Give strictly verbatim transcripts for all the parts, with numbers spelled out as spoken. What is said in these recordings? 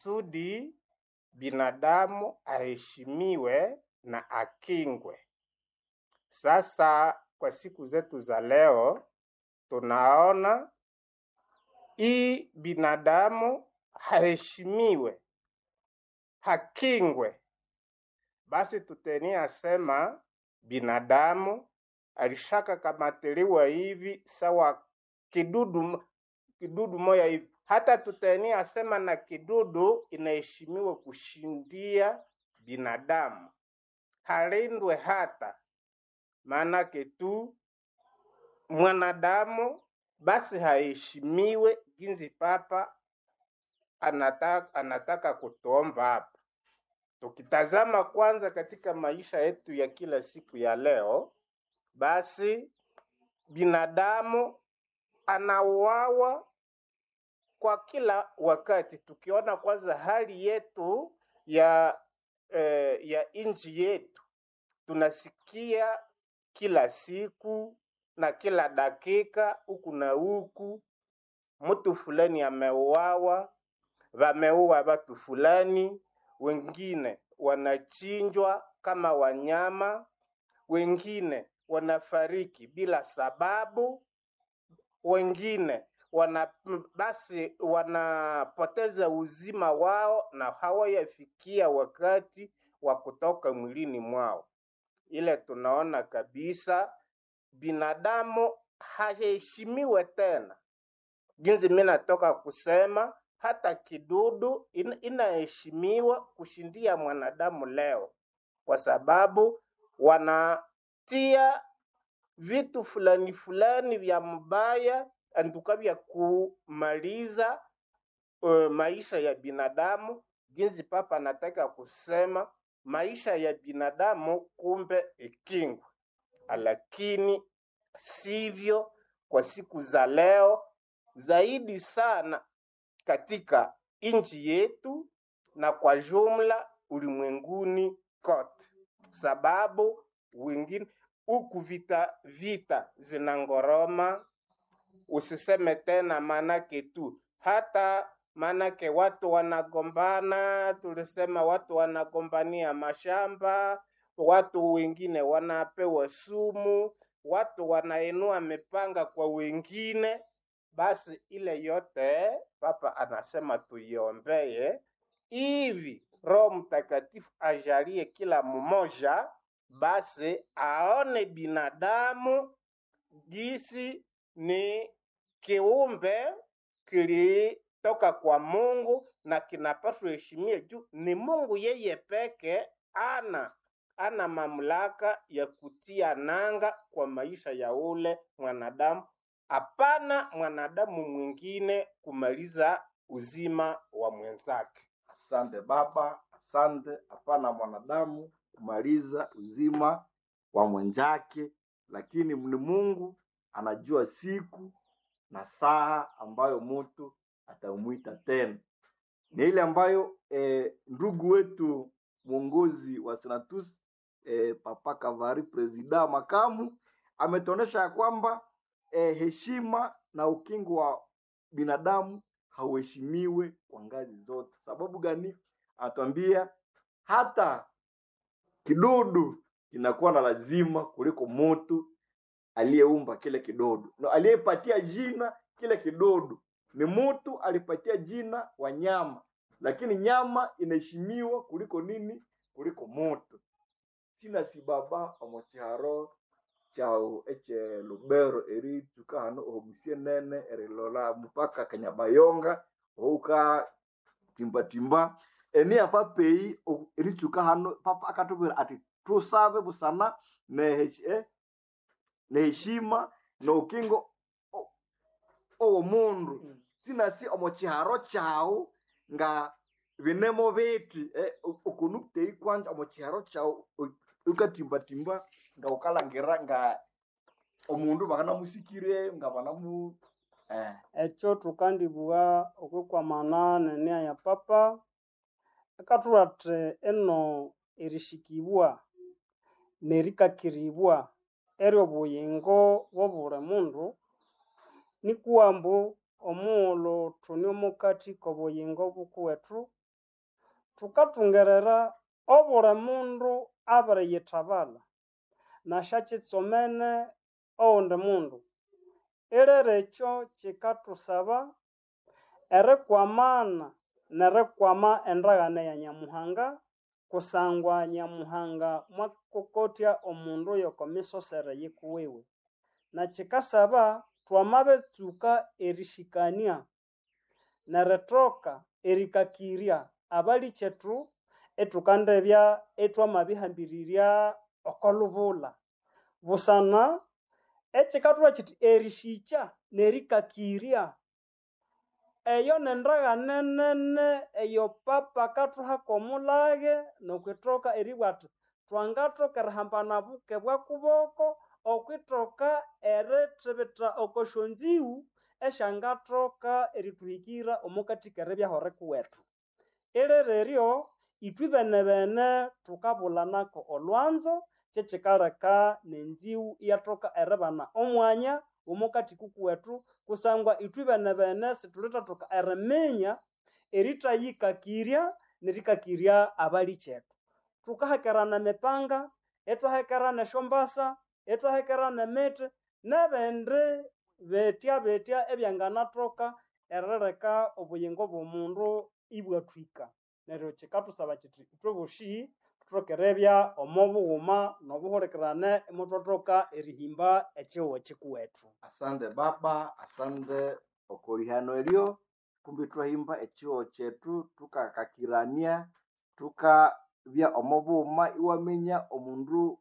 Kusudi binadamu aheshimiwe na akingwe. Sasa kwa siku zetu za leo tunaona hii binadamu haheshimiwe, hakingwe. Basi tutenia sema binadamu alishaka kamatiliwa hivi sawa kidudu kidudu moya hivi. Hata tutenia sema na kidudu inaheshimiwa kushindia binadamu, halindwe hata maanake tu mwanadamu basi haheshimiwe ginzi papa anataka, anataka kutuomba hapa. Tukitazama kwanza katika maisha yetu ya kila siku ya leo, basi binadamu anauawa kwa kila wakati. Tukiona kwanza hali yetu ya eh, ya nchi yetu, tunasikia kila siku na kila dakika huku na huku, mtu fulani ameuawa, wameua watu fulani, wengine wanachinjwa kama wanyama, wengine wanafariki bila sababu, wengine wana basi wanapoteza uzima wao na hawayafikia wakati wa kutoka mwilini mwao. Ile tunaona kabisa binadamu haheshimiwe tena. Jinsi mimi natoka kusema hata kidudu in, inaheshimiwa kushindia mwanadamu leo, kwa sababu wanatia vitu fulani fulani vya mbaya antuka vya kumaliza uh, maisha ya binadamu. Jinsi papa anataka kusema maisha ya binadamu kumbe ikingwe, lakini sivyo kwa siku za leo, zaidi sana katika nchi yetu na kwa jumla ulimwenguni kote, sababu wengine huku vita vita zinangoroma, usiseme tena manake tu hata manake watu wanagombana, tulisema watu wanagombania mashamba, watu wengine wanapewa sumu, watu wanainua mipanga kwa wengine. Basi ile yote Papa anasema tuiombee hivi Roho Mtakatifu ajalie kila mmoja basi aone binadamu gisi ni kiumbe kilitoka kwa Mungu na kinapaswa heshimia juu ni Mungu yeye peke ana ana mamlaka ya kutia nanga kwa maisha ya ule mwanadamu. Hapana mwanadamu mwingine kumaliza uzima wa mwenzake. Asante baba, asante. Hapana mwanadamu kumaliza uzima wa mwenzake, lakini ni Mungu anajua siku na saa ambayo mtu atamwita tena. Ni ile ambayo eh, ndugu wetu mwongozi wa Senatus eh, Papa Kavari presida makamu ametuonesha ya kwamba eh, heshima na ukingo wa binadamu hauheshimiwe kwa ngazi zote. Sababu gani? Anatuambia hata kidudu kinakuwa na lazima kuliko mutu aliyeumba kile kidudu na aliyepatia jina kile kidudu. Ni mutu alipatia jina wanyama, lakini nyama inaheshimiwa kuliko nini? Kuliko mutu. Sina sibaba omuchiharo chao eche Lubero eri tuka hano omusie nene erilola mpaka Kanyabayonga ouka timbatimba eni apa pei o- eritsuka hano papa akatubwira ati tusabe busana neheshi- eh, neheshima noukingo o- owomundu sinasi omo chiharo chau nga binemo biti eh, okunuptei kwanza omo chiharo chau u- ukatimbatimba nga ukalangira nga omundu bakanamusikire nga banamu eh, Ekyo thukandibugha okwikwamana n'enia ya papa akathuwa athi eno erishikibwa nerikakiribwa ery'obuyingo bw'obuli mundu nikuwa ambu omughulhu thune omukathi k'obuyingo bukuwethu. Thukathungerera obuli mundu abiriyithabala nasyakyitsomene oghundi mundu. Ilere ekyo kyikathusaba erikwamana nerikwama endaghano ya Nyamuhanga kusangwa Nyamuhanga mwakokotya omundu yoko misosere yikuwiwe. Na kyikasaba twamabitsuka erishikania nerithoka erikakirya abalikyethu ithukandibya ithwamabihambirirya oko lubula. Busana ekyikathubwira kyithi erishikya nerikakirya eyo nendaghane nene eyo papa akathuha kw'omulage nokwithoka eribugha athi twangathoka erihambana buke bwa kuboko okwithoka erithibitha oko syonzighu esyangathoka erithuhikira omo kathi k'eribyaho kuwethu. Ilere eryo ithwe benebene thukabulanako olhwanzo kyekyikaleka n'enzighu iyathoka eribana omwanya omo kathi kukuwethu kusangwa ithwe benebene sithulithathoka eriminya erithayikakirya nerikakirya abalikyethu. Thukahekerana emipanga, ithwahekerana esyombasa, ithwahekerana emithi n'ebindi bithya bithya ebyanganathoka erileka obuyingo bw'omundu ibwathwika. Neryo kyikathusaba kyithi ithwe bosi thuthoke eribya omo bughuma n'obuhulikirane imuthwathoka erihimba ekyihugho kyikuwethu. Asante baba, asante okolihano eryo kumbi twahimba ekyihugho kyethu tukakakirania tukabya omo bughuma iwaminya omundu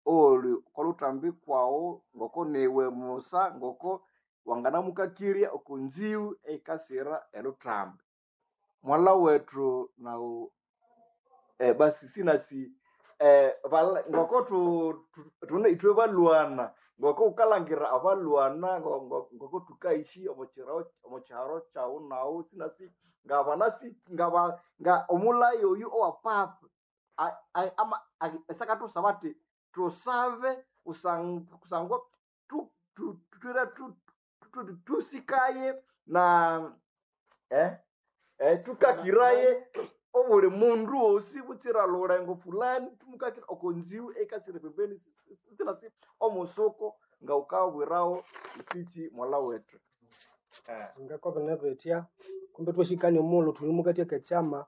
oli okolhutambi kwawu ngoko niwe musa ngoko wanganamukakirya oko nzighu eyikasira elhutambi. Mwalha wethu nawu eh, basi sinasi eh, bala, ngoko tu, tu, tune ithwe balwana ngoko wukalhangira abalwana ngo- ngo- ngoko thukaishi omo kyiro omo kyiharo kyawu nawu sinasi ngabanasi ngaba nga omulaya oyu owa papa a- a- ama a- esakathusaba athi tusabe kusang- kusangwa tu- tu- twira tu- tu- tu- tusikaye na eh, eh, tukakiraye obuli mundu wosi butsira lulengo fulani tumukakira oko nziwu ekasire pembeni sinasi omusuko nga ukabwirawo ikichi mwala wethu eh. Ngakobana bethya kumbe twashikania omughulhu thuli mukati akekyama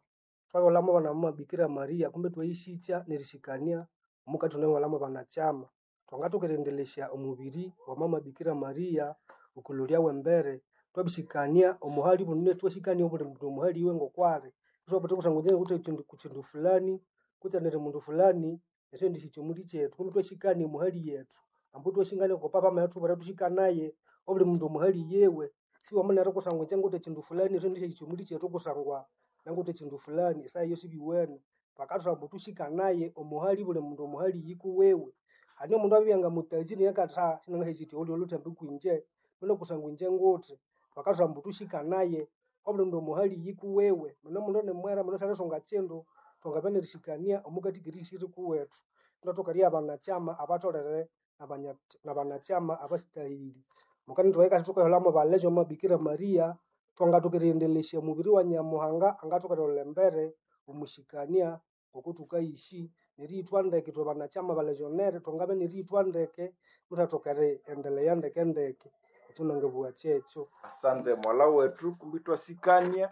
twabulhamu abana mama Bikira Maria kumbe twayishikya nerishikania omukati thunamubulhamu abanakyama. Thwangathoka eriendelesya omubiri wa mama Bikira Maria okulolya wembere twabishikania omuhali bunene twashikania obuli mundu omuhali iwe ngokwali ithwabutha kusangwa inje ngawithe ekyindu kukyindu fulani kutse neri mundu fulani esyendishikya omuli kyethu kumbe twashikania omuhali yethu ambu twashingania oko papa amathuthubwira thushikanaye obuli mundu omuhali yewe siwamunere kusangwa inje ngawithe ekyindu fulani esyendishikya omuli kyethu kusangwa nangwithe ekyindu fulani esaha eyo sibiwene. Bakathubwira ambu thushikanaye omuhali buli mundu omuhali yikuwiwe. Hane omundu abibya ngamutazire neryo akatha sinangahekyithi olyo olhuthembi kwinje mbino kusangwa inje nguthi. Bakathubwira ambu thushikanaye obuli mundu omuhali yikuwiwe muna omundu nimwera mundu syalithunga kyindu thwangabya nerishikania omukathi kerihishiri kuwethu ithwathoka eribya abanakyama abatholere nabanya nabanakyama abasitahili. Mukana ithwahika thukaholhamu balejo omo Bikira Maria thwangathoka eriendelesya omubiri wa Nyamuhanga angathoka erilholha embere omushikania ngoko thukayishi neriyithwa ndeke ithwe banakyama balejonere thwangabya neriyithwa ndeke muthathoka eriendelea ndeke ndeke ekyo nangabugha kyekyo. Asante mwala wethu kumbi twasikania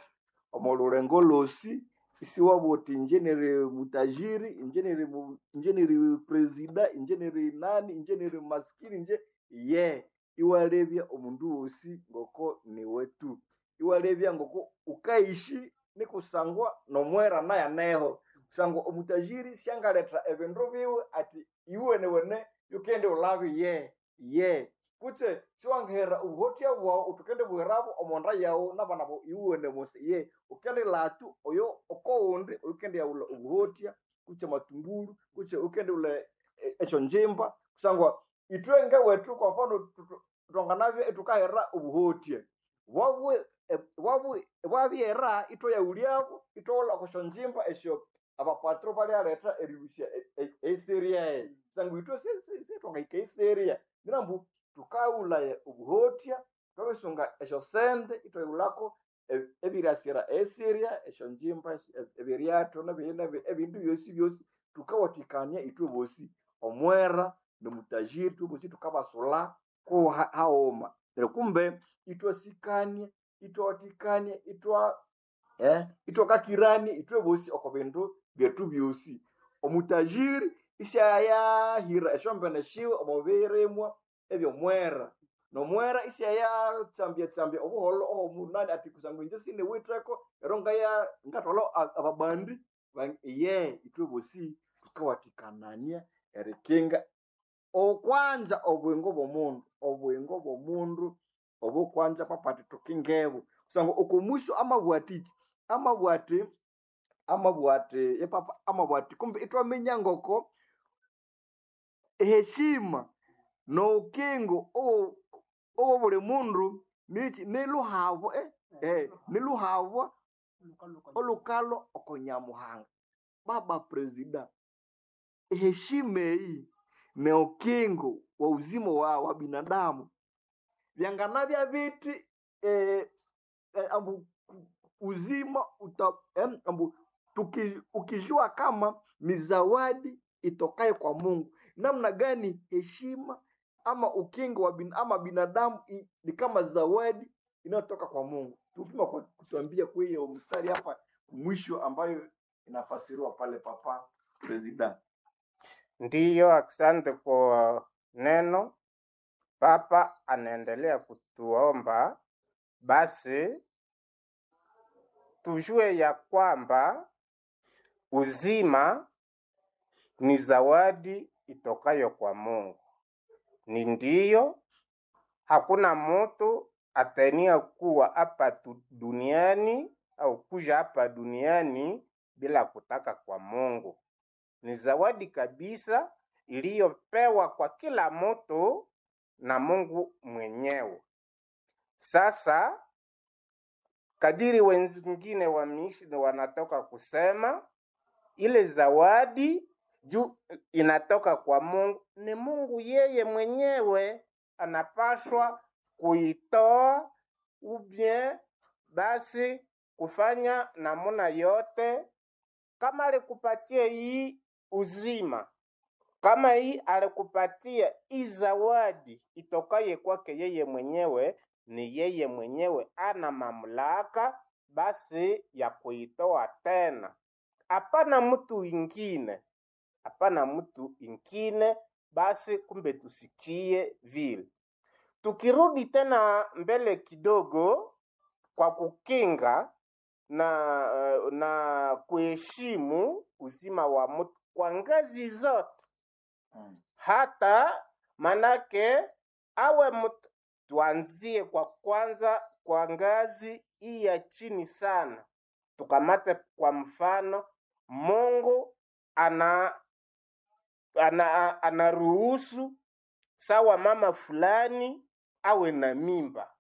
omo lulengo lwosi isiwabugha uthi inje niri mutajiri inje niri mu- inje niri presida inje niri nani inje niri maskini inje ye iwalebya omundu wosi ngoko niwe tu iwalebya ngoko ukaishi nikusangwa nomwera naye aneho kusangwa omutajiri syangaletha ebindu biwe ati iwenewene yukende ulabe ye ye kutse siwangihera obuhotya bwawu uthi ukende buherabu omonda yawu nabana bawu iwene mose ye ukende latu oyo okowundi ukende yaghulha obuhotya kutse matungulu kutse ukende ghulha e- esyonjimba kusangwa ithwe ngewethu kwa mfano tu- tu- thwanganabya ithukahera obuhotya bwabu e- bwabu bwabyera ithwayaghulyabu ithwaghulha okwasyonjimba esyo abapatro balyaletha erilhusya eseria eyo kusangwa ithwe se- se- sithwangahika eseria nyirambu thukaghulhaya obuhotya thwabisunga esyosente ithwayighulhako Ebirasira esiria esyonjimba ebiryatho ebindu byosi byosi tukawathikania ithwe bosi, omwera nomutajiri ithwe bosi thukabasulha ku haghuma. Neryo kumbe ithwasikania, ithwawathikania, ithwa eh, ithwakakirania ithwe bosi oko bindu byethu byosi. Omutajiri isyayahira esyombene syiwe omo birimwa ebyomwera, nomwera isyayatsambya-tsambya obuholho owomunani athi kusangwa inje siniwitheko ero ngaya ngathwalha ababandi iye ithwe bosi thukawathikanania erikinga okwanza obuyingo bw'omundu, obuyingo bw'omundu obukwanza papa athi thukingebu kusangwa okomusyo amabugha athiki, amabugha athi amabugha athi yepapa amabugha athi kumbe ithwaminya ngoko eheshima nobukingo obwo buli mundu niki niluhabwa eh, eh, niluhabwa olukalwa oko Nyamuhanga. Baba Presida, eheshima eyi nobukingo wa uzima wa, wa binadamu byanganabya bithi eh, eh, ambu uzima uta, em, ambu tuki, ukijua kama ni zawadi itokayo kwa Mungu, namna gani heshima ama ukingo wa bin, ama binadamu i, ni kama zawadi inayotoka kwa Mungu. Tupima kwa kutuambia kwa hiyo mstari hapa mwisho ambayo inafasiriwa pale papa Presida. Ndiyo, asante kwa neno. Papa anaendelea kutuomba basi tujue ya kwamba uzima ni zawadi itokayo kwa Mungu. Ni ndiyo, hakuna mutu atania kuwa hapa tu- duniani au kuja hapa duniani bila kutaka kwa Mungu. Ni zawadi kabisa iliyopewa kwa kila mtu na Mungu mwenyewe. Sasa kadiri wengine wameishi wanatoka kusema ile zawadi juu inatoka kwa Mungu, ni Mungu yeye mwenyewe anapashwa kuitoa ubie basi kufanya namuna yote, kama alikupatia hii uzima, kama hii alikupatia hii zawadi itokaye kwake yeye mwenyewe, ni yeye mwenyewe ana mamlaka basi ya kuitoa tena, hapana mtu ingine, hapana mtu ingine. Basi kumbe tusikie vile. Tukirudi tena mbele kidogo, kwa kukinga na na kuheshimu uzima wa mtu kwa ngazi zote, Mm. hata manake awe mtu, tuanzie kwa kwanza kwa ngazi hii ya chini sana. Tukamate kwa mfano, Mungu ana ana anaruhusu sawa mama fulani awe na mimba,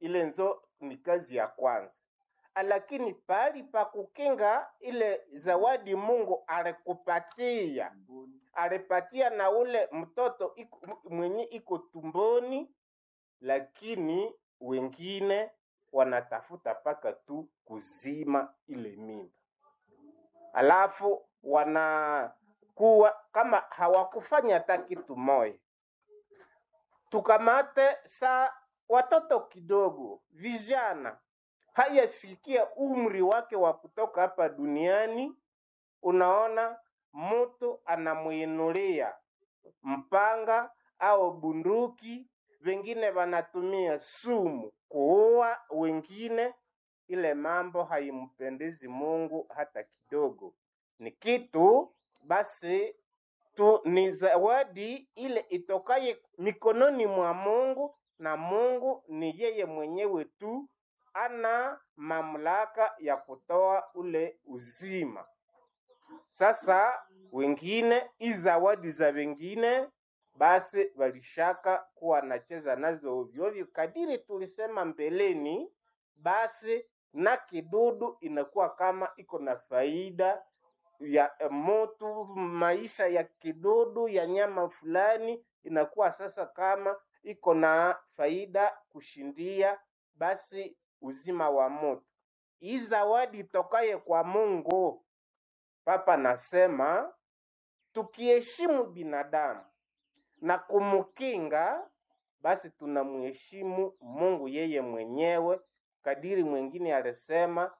ile nzo ni kazi ya kwanza. Lakini pahali pa kukinga ile zawadi Mungu alikupatia, alipatia na ule mtoto iko, mwenye iko tumboni, lakini wengine wanatafuta paka tu kuzima ile mimba, alafu wanakuwa kama hawakufanya hata kitu moja. Tukamate saa watoto kidogo, vijana hayafikia umri wake wa kutoka hapa duniani, unaona mtu anamuinulia mpanga au bunduki, wengine wanatumia sumu kuua wengine. Ile mambo haimpendezi Mungu hata kidogo. Ni kitu basi tu ni zawadi ile itokaye mikononi mwa Mungu, na Mungu ni yeye mwenyewe tu ana mamlaka ya kutoa ule uzima. Sasa wengine hii zawadi za wengine basi walishaka kuwa wanacheza nazo ovyo ovyo, kadiri tulisema mbeleni, basi na kidudu inakuwa kama iko na faida ya eh, motu maisha ya kidudu ya nyama fulani inakuwa sasa kama iko na faida kushindia basi uzima wa mutu. Hii zawadi itokaye kwa Mungu. Papa nasema tukiheshimu binadamu na kumukinga, basi tunamheshimu Mungu yeye mwenyewe, kadiri mwengine alisema